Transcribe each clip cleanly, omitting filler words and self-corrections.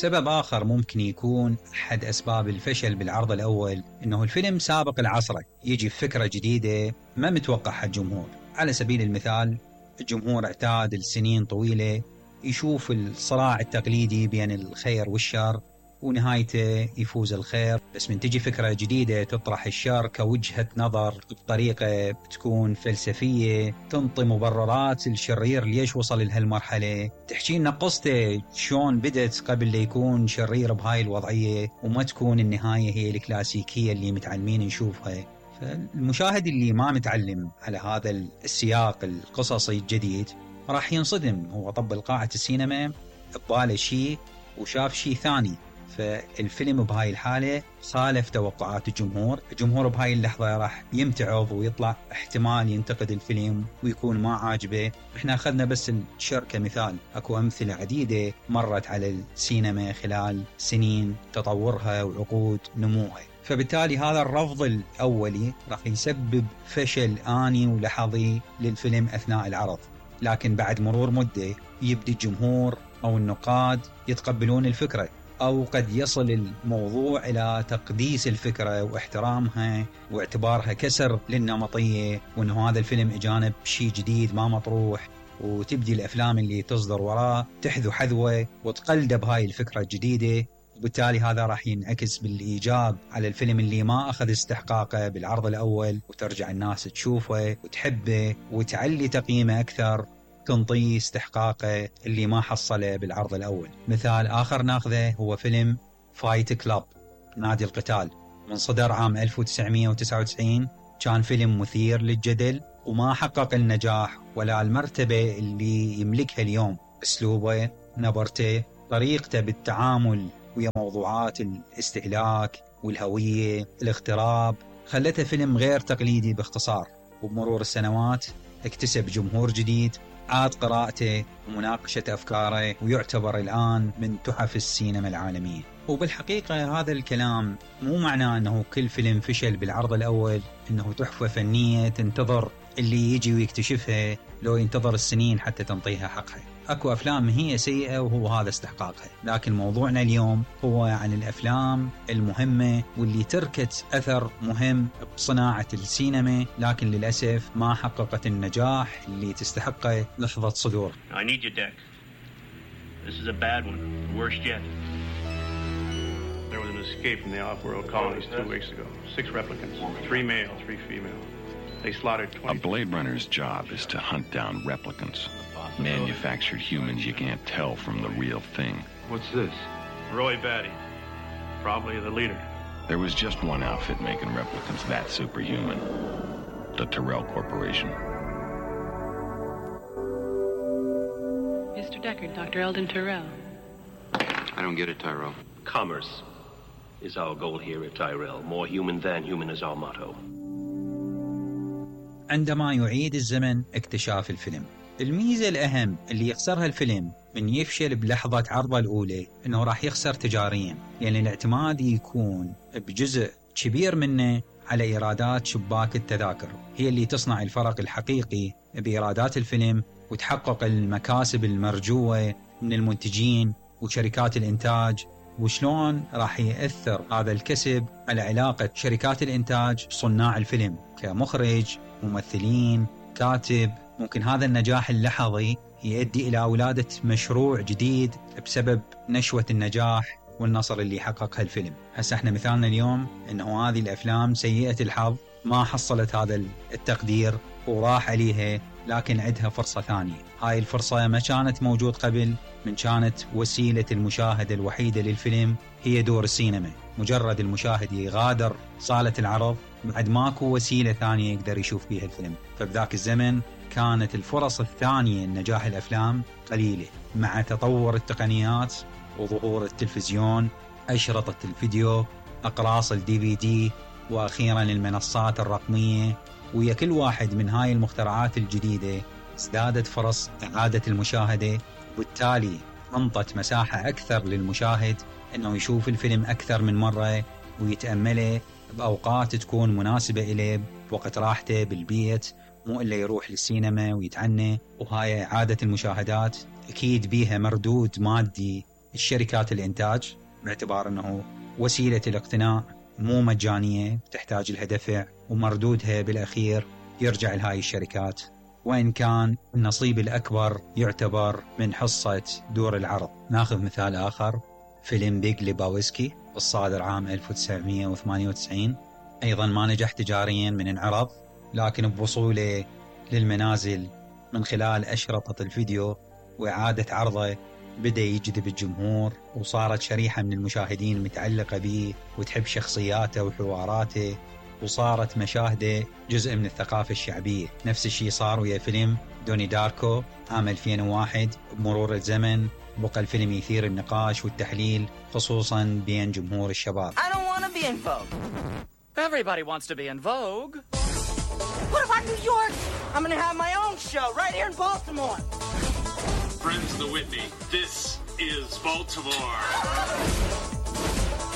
سبب آخر ممكن يكون أحد أسباب الفشل بالعرض الأول إنه الفيلم سابق العصر، يجي بفكرة جديدة ما متوقعها الجمهور. على سبيل المثال الجمهور اعتاد لسنين طويلة يشوف الصراع التقليدي بين الخير والشر ونهايته يفوز الخير، بس من تجي فكرة جديدة تطرح الشر كوجهة نظر بطريقة بتكون فلسفية، تنطي مبررات الشرير ليش وصل لهالمرحلة، تحكي لنا قصته شلون بدت قبل ليكون شرير بهاي الوضعية، وما تكون النهاية هي الكلاسيكية اللي متعلمين نشوفها. فالمشاهد اللي ما متعلم على هذا السياق القصصي الجديد راح ينصدم. هو طب قاعة السينما بباله شيء وشاف شيء ثاني، فالفيلم بهاي الحالة خالف توقعات الجمهور بهاي اللحظة راح يمتعض ويطلع احتمال ينتقد الفيلم ويكون ما عاجبه. احنا أخذنا بس الشر كمثال، اكو أمثلة عديدة مرت على السينما خلال سنين تطورها وعقود نموها. فبالتالي هذا الرفض الأولي راح يسبب فشل آني ولحظي للفيلم أثناء العرض، لكن بعد مرور مدة يبدي الجمهور أو النقاد يتقبلون الفكرة، أو قد يصل الموضوع إلى تقديس الفكرة واحترامها واعتبارها كسر للنمطية، وأنه هذا الفيلم إجانب شيء جديد ما مطروح، وتبدي الأفلام اللي تصدر وراه تحذو حذوة وتقلد بهاي الفكرة الجديدة. وبالتالي هذا راح ينعكس بالإيجاب على الفيلم اللي ما أخذ استحقاقه بالعرض الأول، وترجع الناس تشوفه وتحبه وتعلي تقييمه أكثر، تنطيه استحقاقه اللي ما حصله بالعرض الأول. مثال آخر ناخذه هو فيلم فايت كلاب، نادي القتال، من صدر عام 1999. كان فيلم مثير للجدل وما حقق النجاح ولا المرتبة اللي يملكها اليوم. أسلوبه، نبرته، طريقته بالتعامل ويا موضوعات الاستهلاك والهوية، الاغتراب، خلته فيلم غير تقليدي باختصار. وبمرور السنوات اكتسب جمهور جديد، عاد قراءته ومناقشة أفكاره، ويعتبر الآن من تحف السينما العالمية. وبالحقيقة هذا الكلام مو معناه أنه كل فيلم فشل بالعرض الأول أنه تحفة فنية تنتظر اللي يجي ويكتشفها لو ينتظر السنين حتى تنطيها حقها. أكو أفلام هي سيئة وهو هذا استحقاقها، لكن موضوعنا اليوم هو عن الأفلام المهمة واللي تركت أثر مهم بصناعة السينما، لكن للأسف ما حققت النجاح اللي تستحقه لحظة صدور. I need your deck. This is a bad one, the worst yet. There was an escape from the off-world colonies 2 weeks ago. 6 replicants, 3 male, 3 female. They slaughtered 20. A Blade Runner's job is to hunt down replicants. Manufactured humans you can't tell from the real thing. What's this? Roy Batty, probably the leader. There was just one outfit making replicants that superhuman. The Tyrell Corporation. Mr. Deckard, Dr. Eldon Tyrell. I don't get it, Tyrell. Commerce is our goal here at Tyrell. More human than human is our motto. عندما يعيد الزمن اكتشاف الفيلم، الميزة الأهم اللي يخسرها الفيلم من يفشل بلحظة عرضه الأولى إنه راح يخسر تجاريا، لأن الاعتماد يكون بجزء كبير منه على إيرادات شباك التذاكر، هي اللي تصنع الفرق الحقيقي بإيرادات الفيلم وتحقق المكاسب المرجوة من المنتجين وشركات الإنتاج. وشلون راح يأثر هذا الكسب على علاقة شركات الإنتاج بصناع الفيلم كمخرج، ممثلين، كاتب. ممكن هذا النجاح اللحظي يؤدي إلى ولادة مشروع جديد بسبب نشوة النجاح والنصر اللي حققها الفيلم. هسه احنا مثالنا اليوم انه هذه الافلام سيئة الحظ ما حصلت هذا التقدير وراح عليها، لكن عندها فرصة ثانية. هاي الفرصة ما كانت موجود قبل، من كانت وسيلة المشاهدة الوحيدة للفيلم هي دور السينما. مجرد المشاهد يغادر صالة العرض بعد ماكو وسيلة ثانية يقدر يشوف بيها الفيلم. فبذاك الزمن كانت الفرص الثانية لنجاح الأفلام قليلة. مع تطور التقنيات وظهور التلفزيون، أشرطة الفيديو، أقراص DVD، وأخيرا المنصات الرقمية، ويا كل واحد من هاي المخترعات الجديدة ازدادت فرص إعادة المشاهدة، وبالتالي انطت مساحة أكثر للمشاهد أنه يشوف الفيلم أكثر من مرة ويتأمله بأوقات تكون مناسبة إليه بوقت راحته بالبيت، مو إلا يروح للسينما ويتعنى. وهاي إعادة المشاهدات أكيد بيها مردود مادي الشركات الإنتاج، باعتبار أنه وسيلة الاقتناء مو مجانية، تحتاج لها دفع، ومردودها بالأخير يرجع لهاي الشركات، وإن كان النصيب الأكبر يعتبر من حصة دور العرض. ناخذ مثال آخر، فيلم بيج ليباوسكي الصادر عام 1998، أيضا ما نجح تجاريا من انعرض، لكن بوصوله للمنازل من خلال أشرطة الفيديو وإعادة عرضه بدأ يجذب الجمهور، وصارت شريحة من المشاهدين متعلقة به وتحب شخصياته وحواراته، وصارت مشاهده جزء من الثقافة الشعبية. نفس الشيء صار ويا فيلم دوني داركو عام 2001. بمرور الزمن بقى الفيلم يثير النقاش والتحليل خصوصا بين جمهور الشباب. I don't want to be in Vogue. Everybody wants to be in Vogue. What about New York? I'm going to have my own show right here in Baltimore. Friends of the Whitney, this is Baltimore.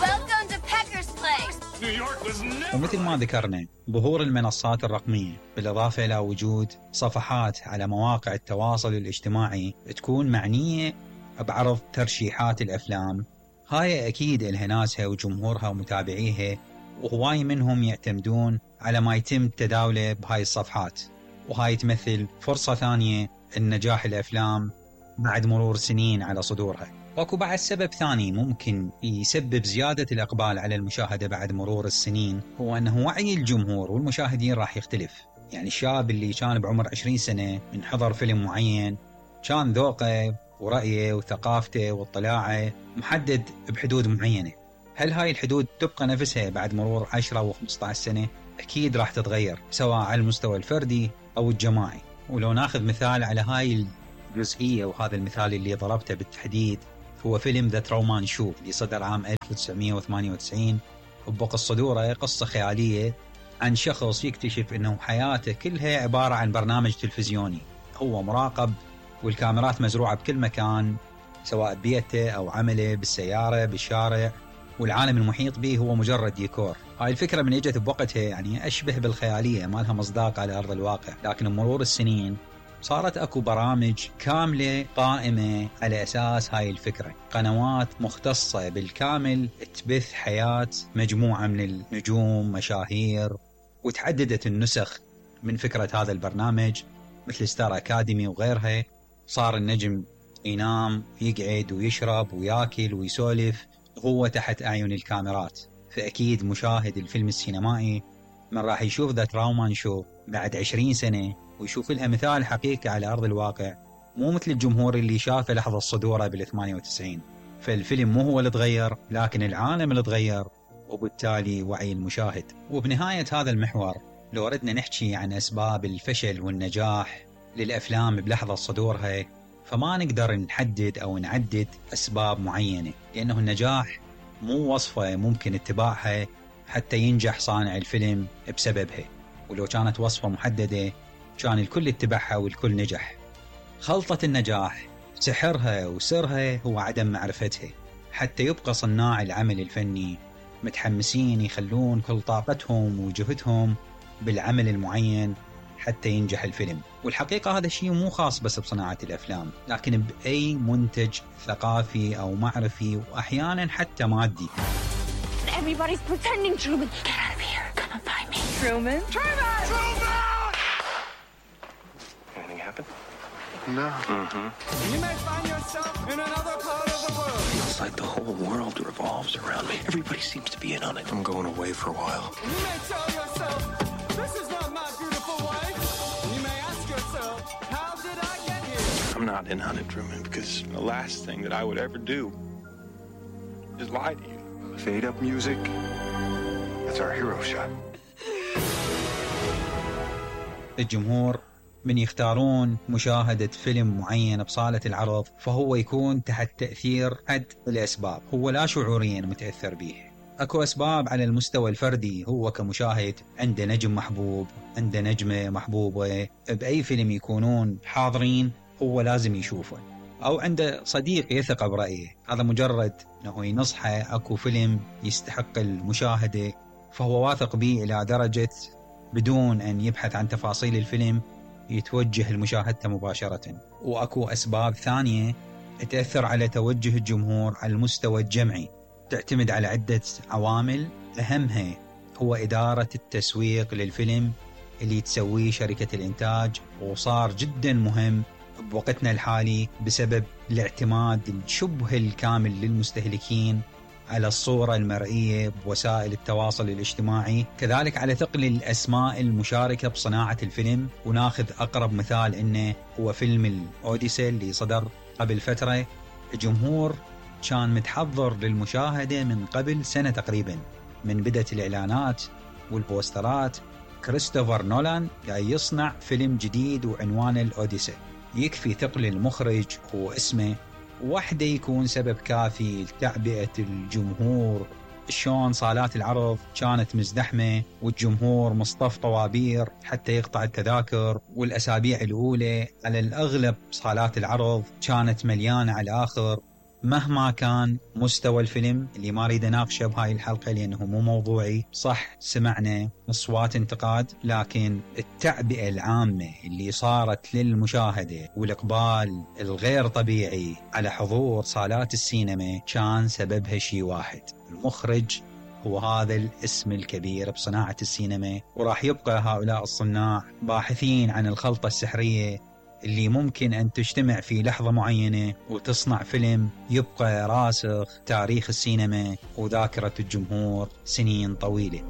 Welcome to Pecker's Place. New York was never... ومثل ما ذكرنا، ظهور المنصات الرقمية بالإضافة إلى وجود صفحات على مواقع التواصل الاجتماعي تكون معنية بعرض ترشيحات الأفلام، هاي أكيد إلها ناسها وجمهورها ومتابعيها، وهواي منهم يعتمدون على ما يتم تداوله بهاي الصفحات، وهاي تمثل فرصة ثانية لنجاح الأفلام بعد مرور سنين على صدورها. واكو بعد سبب ثاني ممكن يسبب زيادة الإقبال على المشاهدة بعد مرور السنين، هو أنه وعي الجمهور والمشاهدين راح يختلف. يعني الشاب اللي كان بعمر 20 سنة من حضر فيلم معين كان ذوقه ورأيه وثقافته واطلاعه محدد بحدود معينة. هل هاي الحدود تبقى نفسها بعد مرور 10 و15 سنة؟ أكيد راح تتغير، سواء على المستوى الفردي أو الجماعي. ولو ناخذ مثال على هاي الجزئية، وهذا المثال اللي ضربته بالتحديد هو فيلم ذا ترومان شو اللي صدر عام 1998، وبقى صدوره قصة خيالية عن شخص يكتشف أنه حياته كلها عبارة عن برنامج تلفزيوني، هو مراقب والكاميرات مزروعة بكل مكان، سواء ببيته أو عمله، بالسيارة، بالشارع، والعالم المحيط به هو مجرد ديكور. هاي الفكرة من اجت بوقتها يعني أشبه بالخيالية، ما لها مصداق على أرض الواقع، لكن بمرور السنين صارت أكو برامج كاملة قائمة على أساس هاي الفكرة، قنوات مختصة بالكامل تبث حياة مجموعة من النجوم مشاهير، وتعددت النسخ من فكرة هذا البرنامج مثل ستار أكاديمي وغيرها. صار النجم ينام يقعد ويشرب وياكل ويسولف هو تحت أعين الكاميرات. فأكيد مشاهد الفيلم السينمائي من راح يشوف ذا ترومان شو بعد 20 سنة ويشوف لها مثال حقيقي على أرض الواقع، مو مثل الجمهور اللي شافه لحظة صدوره بال98. فالفيلم مو هو اللي تغير، لكن العالم اللي تغير، وبالتالي وعي المشاهد. وبنهاية هذا المحور لو ردنا نحكي عن أسباب الفشل والنجاح للأفلام بلحظة صدورها، فما نقدر نحدد أو نعدد أسباب معينة، لأنه النجاح مو وصفة ممكن اتباعها حتى ينجح صانع الفيلم بسببها، ولو كانت وصفة محددة كان الكل اتبعها والكل نجح. خلطة النجاح سحرها وسرها هو عدم معرفتها، حتى يبقى صناع العمل الفني متحمسين يخلون كل طاقتهم وجهدهم بالعمل المعين حتى ينجح الفيلم. والحقيقة هذا الشيء مو خاص بس بصناعة الأفلام، لكن بأي منتج ثقافي أو معرفي، وأحيانا حتى مادي. Everybody's pretending, Truman. Get out of here. Come and find me. Truman? Truman! Truman! Anything happen? No. You may find yourself in another part of the world. It's like the whole world revolves around me. Everybody seems to be in on it. I'm going away for a while. You may tell yourself, this is not my beautiful wife. You may ask yourself, how did I get here? I'm not in on it, Truman, because the last thing that I would ever do is lie to you. Fade up music. That's our hero shot. الجمهور من يختارون مشاهدة فيلم معين بصالة العرض، فهو يكون تحت تأثير أحد الأسباب، هو لا شعوريا متأثر به. أكو أسباب على المستوى الفردي، هو كمشاهد عنده نجم محبوب، عنده نجمة محبوبة بأي فيلم يكونون حاضرين هو لازم يشوفه، أو عنده صديق يثق برأيه، هذا مجرد أنه ينصحه أكو فيلم يستحق المشاهدة فهو واثق به إلى درجة بدون أن يبحث عن تفاصيل الفيلم يتوجه لمشاهدته مباشرة. وأكو أسباب ثانية تأثر على توجه الجمهور على المستوى الجمعي، تعتمد على عدة عوامل، أهمها هو إدارة التسويق للفيلم اللي تسويه شركة الإنتاج، وصار جدا مهم بوقتنا الحالي بسبب الاعتماد الشبه الكامل للمستهلكين على الصورة المرئية بوسائل التواصل الاجتماعي، كذلك على ثقل الأسماء المشاركة بصناعة الفيلم. وناخذ أقرب مثال إنه هو فيلم الأوديسي اللي صدر قبل فترة. الجمهور كان متحضر للمشاهدة من قبل سنة تقريبا، من بدأت الإعلانات والبوسترات. كريستوفر نولان جاي يصنع فيلم جديد وعنوانه الأوديسي، يكفي ثقل المخرج واسمه وحده يكون سبب كافي لتعبئة الجمهور. شلون صالات العرض كانت مزدحمة والجمهور مصطف طوابير حتى يقطع التذاكر، والأسابيع الأولى على الأغلب صالات العرض كانت مليانة على الآخر. مهما كان مستوى الفيلم اللي ما اريد اناقشه بهاي الحلقة لأنه مو موضوعي، صح سمعنا أصوات انتقاد، لكن التعبئة العامة اللي صارت للمشاهدة والإقبال الغير طبيعي على حضور صالات السينما كان سببها شيء واحد: المخرج هو هذا الاسم الكبير بصناعة السينما، وراح يبقى هؤلاء الصناع باحثين عن الخلطة السحرية اللي ممكن أن تجتمع في لحظة معينة وتصنع فيلم يبقى راسخ تاريخ السينما وذاكرة الجمهور سنين طويلة.